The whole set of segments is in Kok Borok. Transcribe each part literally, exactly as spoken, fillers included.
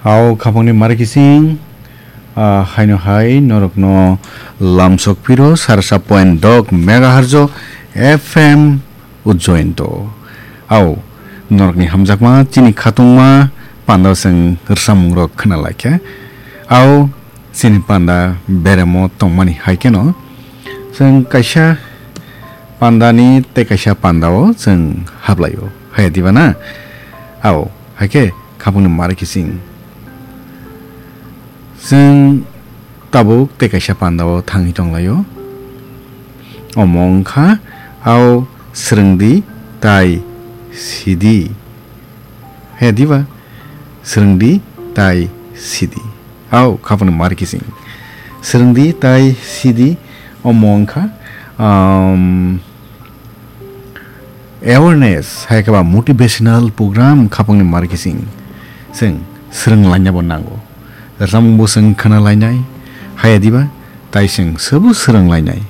Au khapangni mari kising, ah, haino hai norokno lamsok piro sarsa point dok megahertz o F M Ujjainto. Au norokni hamjakma chini khatungma panda seng rwchapmung rok khna laikha. Au chini panda beremo tongmani hai kheno chwng kaisa pandani tei kaisa pandao chwng hablaio. Hai diba na? Au, hai khe khapangni mari kising. Chwng tabuk tei kaisa pandao thangwi tonglaio. Omo wngkha, au swrwngdi tai sidi. Hai diba? Swrwngdi tai sidi. Au, khapangni mari kising. Swrwngdi tai sidi, omo wngkha, um, awareness, hai khe ba motivational program khapangni mari kising. Chwng swrwng lainabo nango. Rwchapmungbo chwng khna lainai, hai diba? Tai chwng sobo swrwng lainai.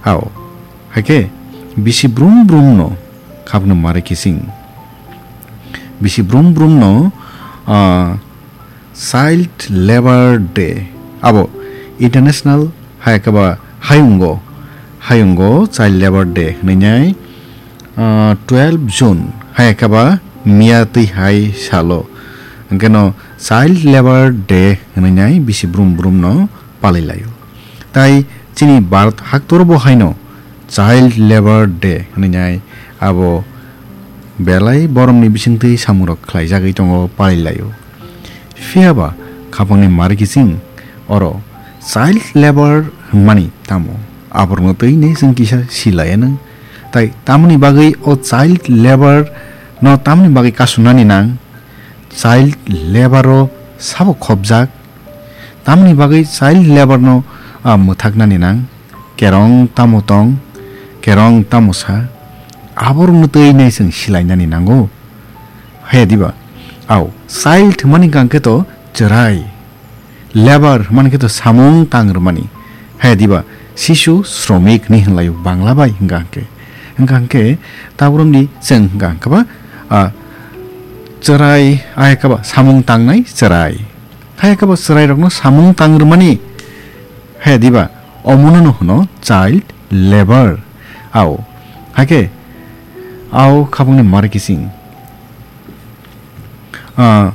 Au, hai khe bisi brum brumno khapangni mari kising. Bisi brum brumno, ah, Child Labour Day, abo International hai khe ba hayungo, hayungo Child Labour Day hwnwi nai, ah, twelve June hai khe ba miya twi hai salo. Hwnkhe no Child Labour Day hwnwi nai bisi brum brumno palai laio. Tai chini Bharat haktoro bo haino Child Labour Day hwnwi nai abo belai boromni bisingtwi samungrok khlaijagwi tongo, palai laio. Phiya ba khapangni mari kising oro child labour hwnmani tamo? Aborokno twi nei chwng kisa silaiya nang. Tai tamoni bagwi o child labour no tamoni bagwi kasunani nang? Child labour o sabo khopjak? Tamoni bagwi child labour no, ah, mwthaknani nang? Kerong tamo tong, kerong tamo sa, aborokno twi nei chwng silainani nango. Haya diba? Au, child hwnmani hwnkha khe to chwrai, labour hwnmani khe to samung tang rwmani. Haya diba? Sisu sromik hinwi hwnlaio Bangla bai hwnkha hwnkhe. Hwnkha hwnkhe taboromni chwng hwnkha hwnkhe ba, ah, chwrai, ah, hwnkhe ba samung tangnai chwrai. Haya khe bo chwrairokno samung tang rwmani. Haya diba? Omono no hwno child labour. Au. Hakhe, au khapangni mari kising. Ah,